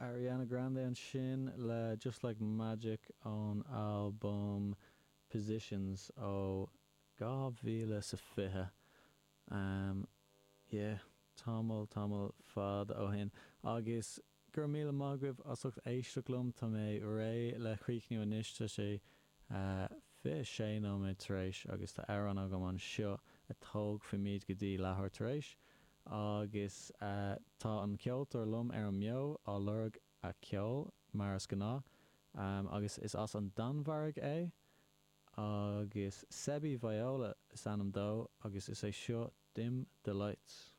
Ariana Grande ansin le Just Like Magic ón albam Positions ó 2020. Yeah, tamall, tamall fada ó shin. Agus go raibh míle maith agaibh as ucht éisteacht liom. Tá mé réidh le críochnú anois. Tá sé 26 nóiméad tar éis agus tá amhrán agam anseo a tógfaimid go dtí leathuair tar éis. Agus tá an ceoltóir liom ar an mbeo á lorg a ceol, mar is gnáth. Agus is as an Danmhairg é. Agus Sebby Viola is ainm dó agus is é seo Dim the Lights.